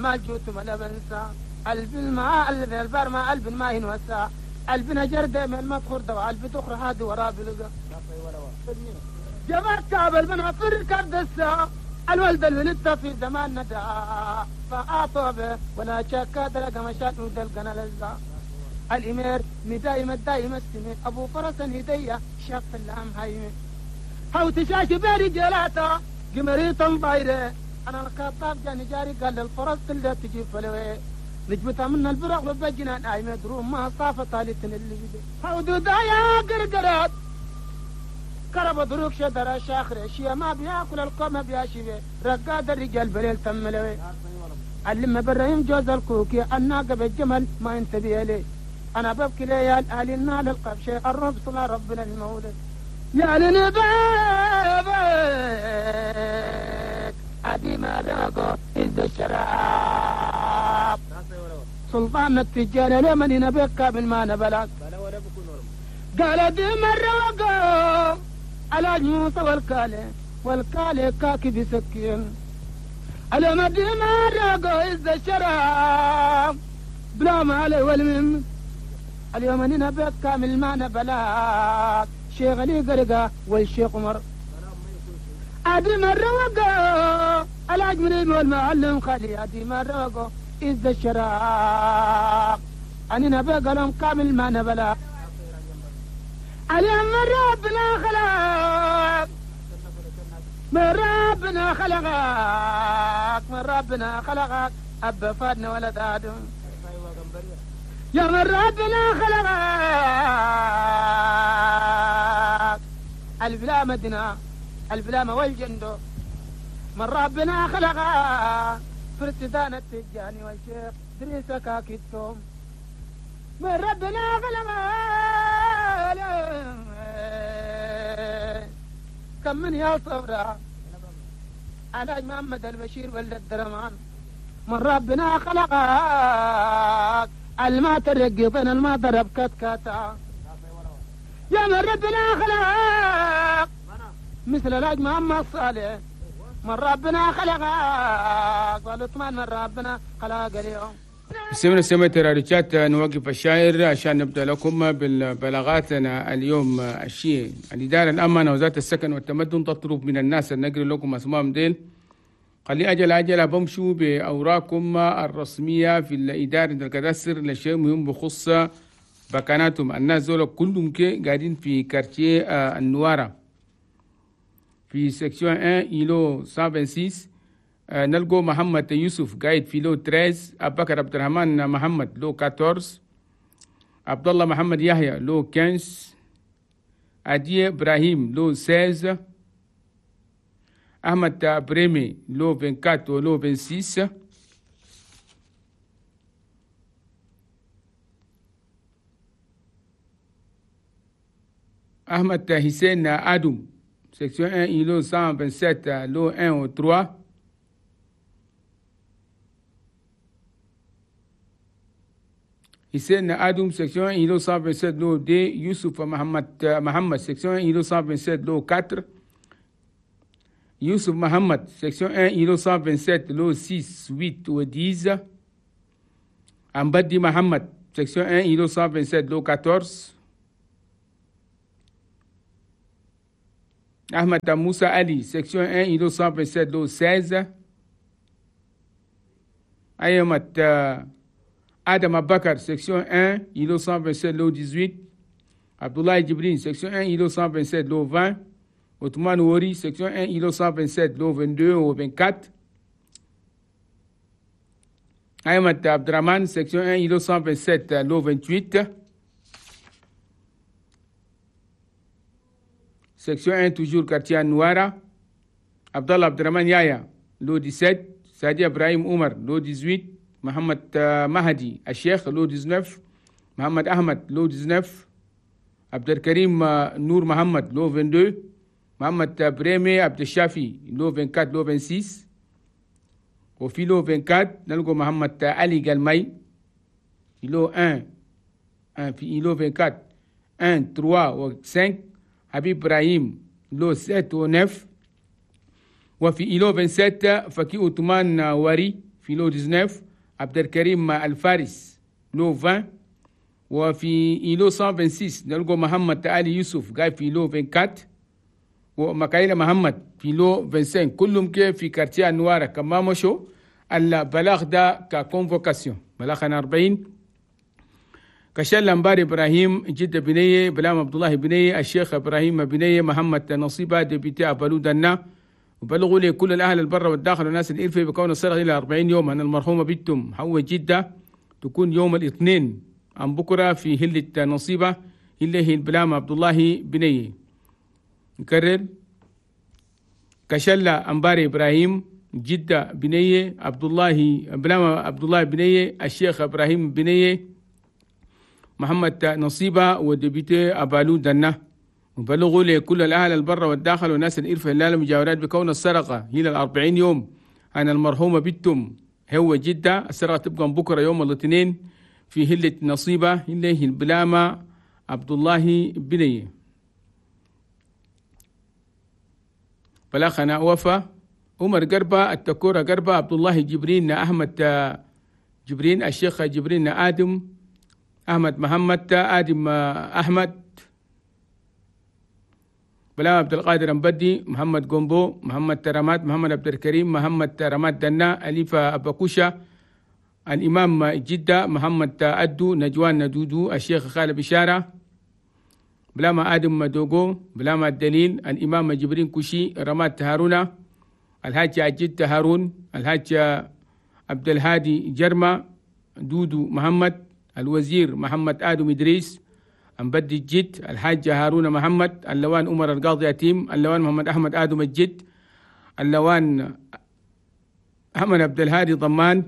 المال جوت ما بنسى قلب الماء قلب البر ما قلب ما ينوسع قلبنا جردة من ما تخرد وقلب تخر هادي ورا بلقى جبرت كابل من عفر كردسة الولد الولدت في زمان ندى فأعطوا ولا شك دلق مشات ودلقنا لزا الإمير مدايم الدايم السمي أبو فرس هدية شاف اللام هايمي هاو تشاش بيري جلاتا قمريطا بايرة أنا الكطاب جاني جاري قال للفرس اللي تجيب فلوي نجمتها من البرق وبجنا نايمة دروم ما صافة طالتن اللي بدي هاو دودايا قرقرات كرب دروك شدر شاخر شيا ما بياكل القوم بياشي رقاد الرجال بليل تملوي علم برايم جوز الكوكي الناقة بالجمل ما انت بيلي انا ببكي ليال اهل النال القبشي الرب صلى ربنا المولد يا لنبابك ادي ما ذاقو إذ الشراب سلطان التجار لمن ينبك من ما نبلك قال دي مرة وقو على موسى والكالي والكالي كاكي بسكين على ما دي مرة وقو إذ الشراب بلا ما علي والمم اليوم نبك كامل ما نبلاك شيخ علي قرقة والشيخ عمر أدي مرة وقو الأجمل والمعلم خالي أدي مرة وقو إذ الشراب أنا نبقى لهم كامل ما نبلا اليوم من ربنا خلق من ربنا خلقك من ربنا خلقك أب فادنا ولد آدم يا من ربنا خلقك البلا مدنا البلا والجندو من ربنا خلقك فرسدان التجاني والشيخ دريسة كاكيتهم من ربنا خلقك كم من يا صبرا على محمد البشير ولد الدرمان من ربنا خلقك الما ترقبنا الما ضرب كتكاتا يا من ربنا خلق مثل الحاج محمد صالح من ربنا خلقك والعثمان من ربنا خلق اليوم. سمعنا سمعت راديوشات. نوقف الشاعر عشان نبدأ لكم بالبلاغاتنا اليوم. الشيء الإدارة الأمانة وزارة السكن والتمدن تطلب من الناس النقل لكم أسمائهم ديل خلي أجل أجل بمشوا بأوراقكم الرسمية في الإدارة الكداسر لشيء مهم بخص بكاناتهم. الناس دول كلهم كي قاعدين في quartier النوارة في section 1 îlot 126. نلقو محمد يوسف قاعد في lot 13، أبو بكر عبد الرحمن محمد lot 14، عبد الله محمد يحيى lot 15، أدي إبراهيم lot 16، أحمد بريمي lot 24 و lot 26، أحمد حسين آدم section 1 îlot 127 lot 1 و 3، حسين آدم section 1 îlot 127 lot 2، يوسف محمد section 1 îlot 127 lot 4، يوسف محمد section 1 îlot 127 lot 6 8 و 10، أمبدي محمد section 1 îlot 127 lot 14، أحمد موسى علي section 1 îlot 127 lot 16، أيمت آدم أبكر section 1 îlot 127 lot 18، عبد الله جبرين section 1 îlot 127 lot 20، عثمان وري section 1 îlot 127 lot 22 و 24، أحمد عبد الرحمن section 1 îlot 127 lot 28، section 1 toujours quartier Nouara، عبد الله عبد الرحمن يايا lot 17، سعدي إبراهيم عمر lot 18، محمد مهدي الشيخ lot 19، محمد أحمد lot 19، عبد الكريم نور محمد lot 22، محمد بريمي عبد الشافي lot 24 lot 26، وفي lot 24 نلقوا محمد علي قلمي lot 1 في lot 24 1 3 و 5، حبيب إبراهيم lot 7 و 9، وفي îlot 27 فكي عثمان وري في lot 19، عبد الكريم الفارس lot 20، وفي îlot 126 نلقوا محمد علي يوسف قاعد في lot 24، ومكايلة محمد في lot 25، كلهم كيف في quartier النوارة. كما مشوا البلاغ ده ك convocation بلاغ 40. كشل أنبار إبراهيم جدة بنية، بلام عبد الله بنية، الشيخ إبراهيم بنية، محمد نصيبة député أبالو دنا. وبلغوا لي كل الأهل البر والداخل والناس الإرفة بكون السرقة إلى 40 يوم أن المرحومة بنتهم حو جدة تكون يوم الاثنين عن بكرة في هلة نصيبة اللي هي البلام عبد الله بنية. نكرر، كشلة أنبار إبراهيم جدة بنية، عبد الله بلام عبد الله بنية، الشيخ إبراهيم بنية، محمد نصيبة و député أبالو دنا. وبلغوا لكل الأهل البر والداخل والناس الإرفة هلال المجاورات بكون السرقة إلى 40 يوم أن المرحومة بنتهم هو جدة. السرقة تبقى بكرة يوم الاثنين في هلة نصيبة اللي هي البلامة عبد الله بنية. بلاغنا وفا عمر قربة، التكورة قربة، عبد الله جبرين، أحمد جبرين، الشيخ جبرين، آدم أحمد محمد، آدم أحمد، بلام عبد القادر مبدي، محمد قنبو، محمد ترامات، محمد عبد الكريم، محمد ترامات دنا، أليفة أباكوشة، الإمام جدة، محمد أدو، نجوان ندودو، الشيخ خالد بشارة، بلام آدم مدوغو، بلام الدليل، الإمام جبرين كوشي، رمات هارونا، الحاج عجيد هارون، الحاج عبد الهادي جرمة، دودو محمد، الوزير محمد آدم إدريس، أمبدي الجد، الحاج هارون محمد، اللوان عمر القاضي يتيم، اللوان محمد أحمد آدم الجد، اللوان أحمد عبد الهادي ضمان،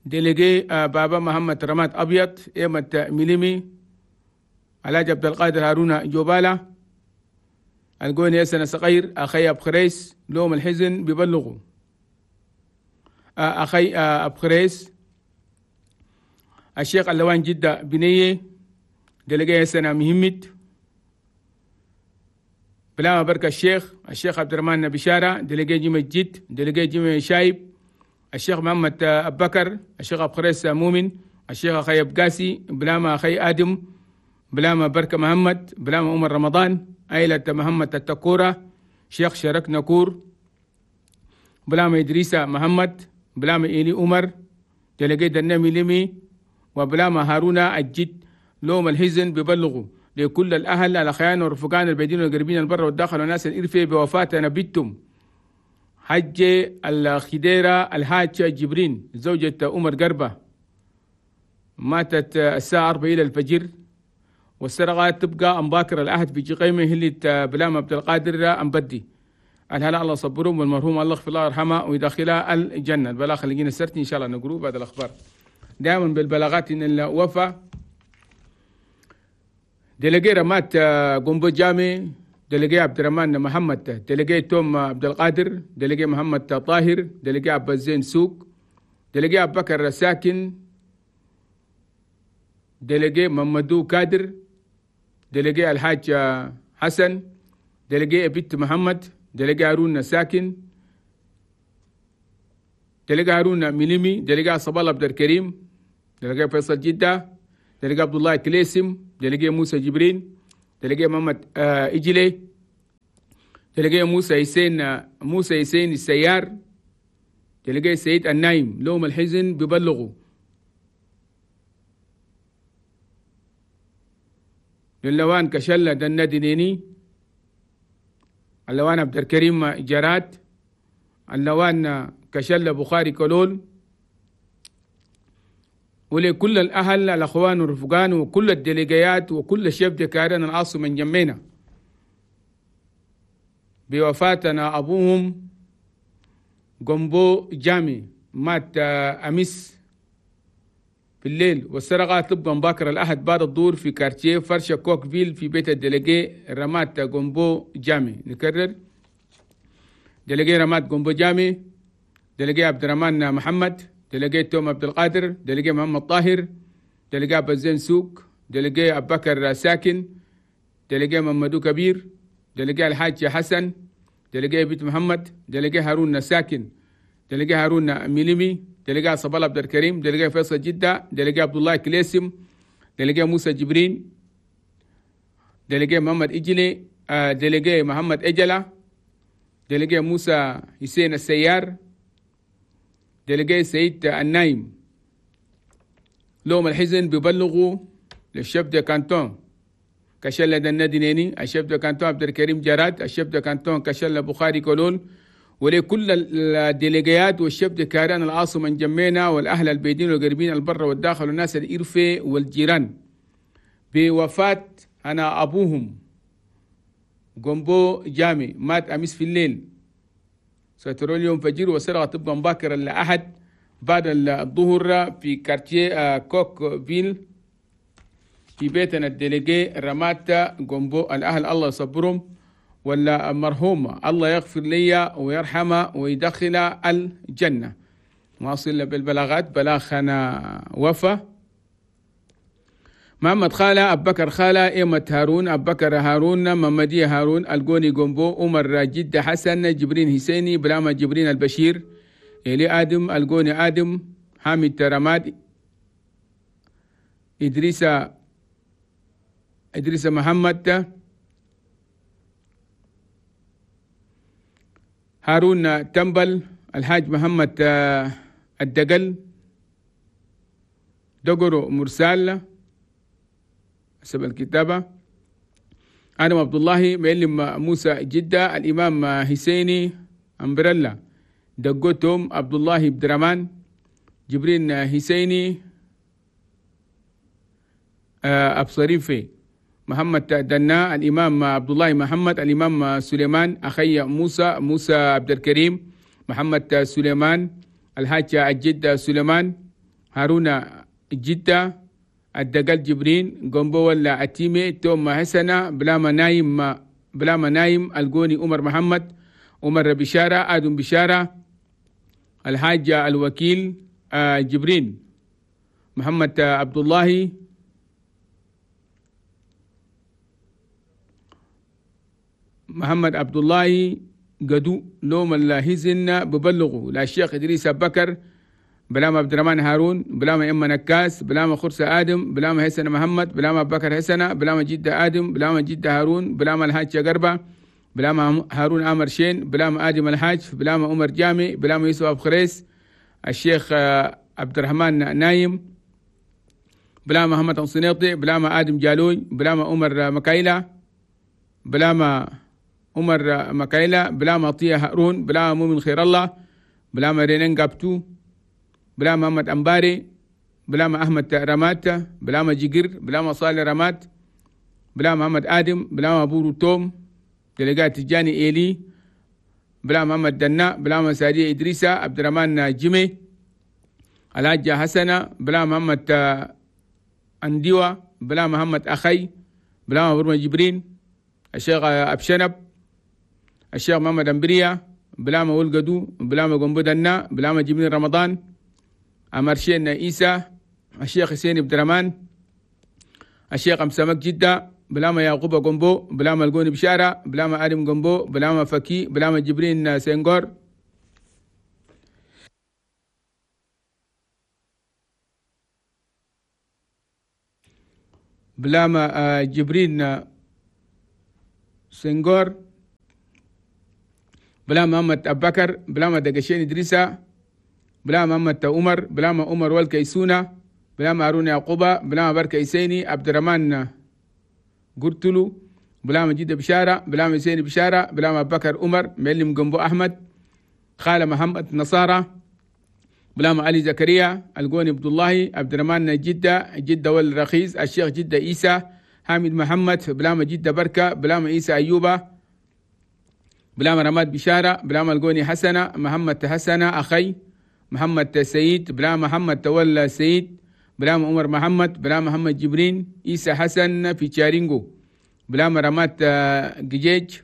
délégué بابا محمد رماد أبيض، إيمة ميليمي، الحاج عبد القادر هارون جوبالة، القوني يسنة صغير، أخي أبخريس لوم الحزن ببلغوا أخي أبخريس، الشيخ اللوان جدة بنية، délégué يسنة مهمت، بلا بركة الشيخ عبد الرحمن بشارة، délégué جيم الجد، délégué جيم شايب، الشيخ محمد أبو بكر، الشيخ أبخريس مؤمن، الشيخ أخي أبقاسي، بلاما أخي آدم، بلاما بركة محمد، بلاما عمر رمضان، عائلة محمد التكورة، شيخ شرك نكور، بلاما إدريسة محمد، بلاما إيلي عمر، délégué دنامي لمي، وبلاما هارون الجد. لوم الحزن ببلغوا لكل الأهل الأخيان والرفقان البعيدين والقريبين البر والداخل والناس الإرفة بوفاة نبيتهم حج الخديرة الحاج جبرين زوجة عمر قربة، ماتت الساعة 4 إلى الفجر، والسرقة تبقى أمباكر الأحد في جقيمة هلة بلام عبد القادر أمبدي. الهلا الله صبرهم والمرحوم الله يغفر الله يرحمه ويدخلها الجنة. البلاغ اللي جينا سرتي إن شاء الله نقروه بعد الأخبار. دائما بالبلاغات إن الوفا délégué رمات قنبو جامي، délégué عبد الرحمن محمد، délégué توم عبد القادر، délégué محمد طاهر، délégué عبد الزين سوق، délégué أبو بكر ساكن، délégué ممدو كادر، délégué الحاج حسن، délégué بنت محمد، délégué هارون ساكن، délégué هارون ميليمي، délégué صبال عبد الكريم، délégué فيصل جدة، délégué عبد الله كليسم، délégué موسى جبرين، délégué محمد إجلي، délégué موسى حسين السيار، délégué سيد النايم. لوم الحزن ببلغوا للوان كشلة دندنيني، اللوان عبد الكريم جراد، اللوان كشلة بخاري كلول، ولكل الأهل الأخوان والرفقان وكل الديليجيات وكل الشيف دكارين العاصمة من جمينا بوفاتنا أبوهم قنبو جامي، مات أمس في الليل، والسرقة تبقى مباكر الأحد بعد الظهر في quartier فرشة كوكفيل في بيت ال délégué رمات قنبو جامي. نكرر، délégué رمات قنبو جامي، délégué عبد الرحمن محمد، délégué توم عبد القادر، délégué محمد طاهر، délégué عبد الزين سوق، délégué أبو بكر ساكن، délégué ممدو كبير، délégué الحاج حسن، délégué بيت محمد، délégué هارون ساكن، délégué هارون ميليمي، délégué صبال عبد الكريم، délégué فيصل جدة، délégué عبد الله كليسم، délégué موسى جبرين، délégué محمد إجلي، délégué محمد إجلة، délégué موسى حسين السيار، délégué سيد النايم. لوم الحزن ببلغوا لل chef de canton كشلة الندينيني، ال chef de canton عبد الكريم جراد، ال chef de canton كشلة بخاري كولون، ولكل الديليجيات وال chefs de carré العاصمة انجمينا والأهل البيدين والقريبين البر والداخل والناس الإرفي والجيران بوفاة أنا أبوهم جومبو جامي، مات أمس في الليل، ستروا اليوم فجر وسرقة تبقى مباكرا لأحد بعد الظهر في quartier كوك فيل في بيتنا ال délégué رمات جومبو. الأهل الله يصبرهم، ولا مرحوم الله يغفر لي ويرحمه ويدخل الجنة. واصل بالبلاغات بلاغنا وفا محمد خالة، أبو بكر خالة، إيمة هارون، أبو بكر هارون، محمدية هارون، الجوني جومبو، عمر جدة حسن، جبرين حسيني، بلاما جبرين البشير، إلي آدم، الجوني آدم، حامد رماد، إدريس محمد، هارون تنبل، الحاج محمد الدقل، دقرو مرسال حسب الكتابة، آدم عبد الله، معلم موسى جدة، الإمام حسيني أمبريلا، دقوتهم عبد الله بدرمان، جبرين حسيني أبصريفي، محمد دنا، الإمام عبد الله محمد، الإمام سليمان، أخي موسى، موسى عبد الكريم، محمد سليمان، الحاج الجدة سليمان، هارون جدة، الدقل جبرين، جومبو ولا أتيمي، توم حسنة، بلاما نايم، بلاما نايم، الجوني عمر محمد، عمر بشارة، آدم بشارة، الحاج الوكيل جبرين، محمد عبد الله، محمد عبد الله قدو. لوم الهزن ببلغوا لا الشيخ إدريس بكر، بلاما عبد الرحمن هارون، بلاما إما نكاس، بلاما خرسة آدم، بلاما حسن محمد، بلاما بكر حسنة، بلاما جدة آدم، بلاما جدة هارون، بلاما الحاج قربة، بلاما هارون عمر شين، بلاما آدم الحاج، بلاما عمر جامي، بلاما يوسف أبو خريس، الشيخ عبد الرحمن نايم، بلاما محمد أنصنيطي، بلاما آدم جالوي، بلاما عمر مكايلة، بلاما عمر مكايلة، بلاما عطية هارون، بلاما مؤمن خير الله، بلاما رينان قابتو، بلاما محمد أمباري، بلاما أحمد رمات، بلاما جيجر، بلاما صالح رمات، بلاما محمد آدم، بلاما بورو توم، دلقات تجاني إيلي، بلاما محمد دنا، بلاما سادية إدريسة، عبد الرحمن جيمي، الحاجة حسنة، بلاما محمد أنديوة، بلاما محمد أخي، بلاما برما جبرين، الشيخ أبشنب، الشيخ محمد أمبريا، بلاما ولقدو، بلاما قنبو دنا، بلاما جبرين رمضان، أمرشين إيسى، الشيخ حسين عبد الرحمن، الشيخ أمسمك جدة، بلاما يعقوب قنبو، بلاما الجوني بشارة، بلاما آدم قنبو، بلاما فكي، بلاما جبرين سنغور، بلاما جبرين سنغور، بلاما محمد أبو بكر، بلاما دقشين إدريسة، بلاما محمد عمر، بلاما عمر والكيسونة، بلاما هارون يعقوبة، بلاما بركة إسيني، عبد الرحمن قرتلو، بلاما جدة بشارة، بلاما إسيني بشارة، بلاما أبو بكر عمر، معلم جنبو أحمد، خالة محمد نصارى، بلاما علي زكريا، الجوني عبد الله، عبد الرحمن جدة، جدة والرخيص، الشيخ جدة إيسى، حامد محمد، بلاما جدة بركة، بلاما إيسى أيوبة، بلاما رماد بشارة، بلاما الجوني حسنة، محمد حسنة أخي، محمد سيد، بلاما محمد تولى سيد، بلاما عمر محمد، بلاما محمد جبرين، إيسى حسن في تشارينجو، بلاما رماد جيج،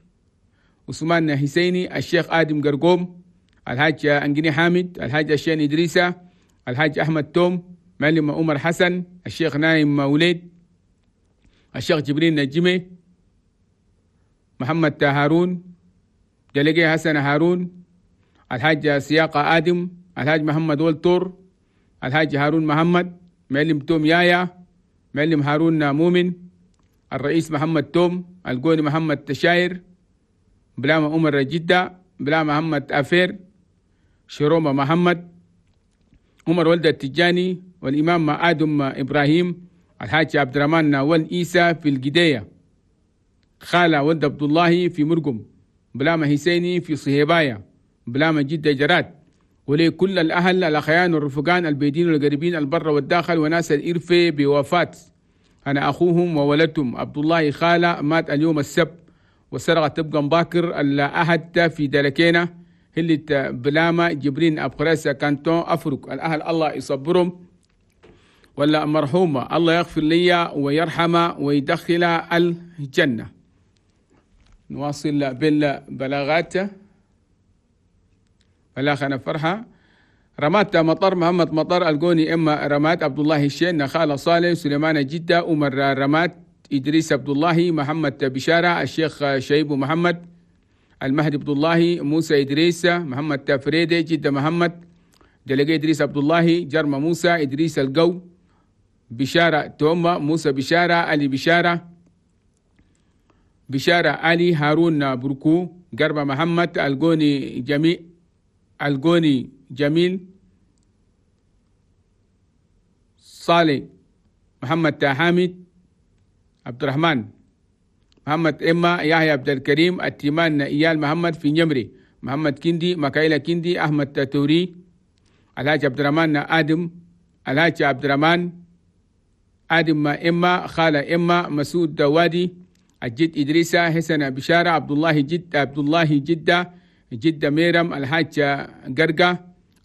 عثمان حسيني، الشيخ آدم قرقوم، الحاج أنجني حامد، الحاج الشين إدريسة، الحاج أحمد توم، معلم عمر حسن، الشيخ نايم وليد، الشيخ جبرين نجمي، محمد هارون، délégué حسن هارون، الحاج سياقة آدم، الحاج محمد ولتور، الحاج هارون محمد، معلم توم يايا، معلم هارون مؤمن، الرئيس محمد توم، القوني محمد تشاير، بلاما عمر جدة، بلا محمد أفير، شرومة محمد، عمر ولد التجاني، والإمام آدم إبراهيم، الحاج عبد الرحمن والإيسى في الجدية، خالة ولد عبد الله في مرقم، بلاما حسيني في صهيبايا، بلاما جدة جراد. ولكل الأهل الأخيان والرفقان البيدين والقريبين البر والداخل وناس الإرفة بوفاة أنا أخوهم وولدتهم عبد الله خالة، مات اليوم السبت والسرقة تبقى مباكر الأحد في دلكينا هلة بلاما جبرين أبخريسة كانتون أفرق. الأهل الله يصبرهم، ولا مرحومة الله يغفر لي ويرحمه ويدخل الجنة. نواصل بالبلاغات. بلاغنا فرحة رمات مطر محمد مطر القوني إما رمات عبد الله الشين خالة صالح سليمان جدة عمر رمات إدريس عبد الله محمد بشارة الشيخ شيب محمد المهدي عبد الله موسى إدريس محمد فريدي جدة محمد دلقي إدريس عبد الله جرم موسى إدريس القو بشارة توما موسى بشارة علي بشارة بشارة علي هارون بركو قربة محمد القوني جميل القوني جميل صالح محمد حامد عبد الرحمن محمد إما يحيى عبد الكريم التيمان إيال محمد في نمري محمد كندي مكايلة كندي أحمد توري الحاج عبد الرحمن آدم الحاج عبد الرحمن آدم إما خالة إما مسعود دوادي الجد إدريسة حسن بشارة عبد الله جد عبد الله جدة جدة ميرم الحاج قرقة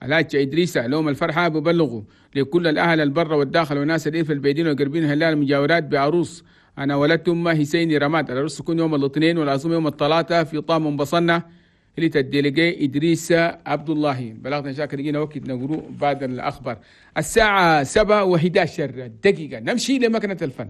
الحاج إدريسة. لهم الفرحة ببلغوا لكل الأهل البر والداخل وناس الإرف البيدين والقربين هلال المجاورات بعروس أنا ولدت أمه حسيني رماد. العروس تكون يوم الاثنين والعزومة يوم الثلاثاء في طام بصنة اللي تدلقي إدريس عبد الله. بلغنا شاكر لقينا وقت نقرو بعد الأخبار. الساعة 7:11 نمشي لمكنة الفن.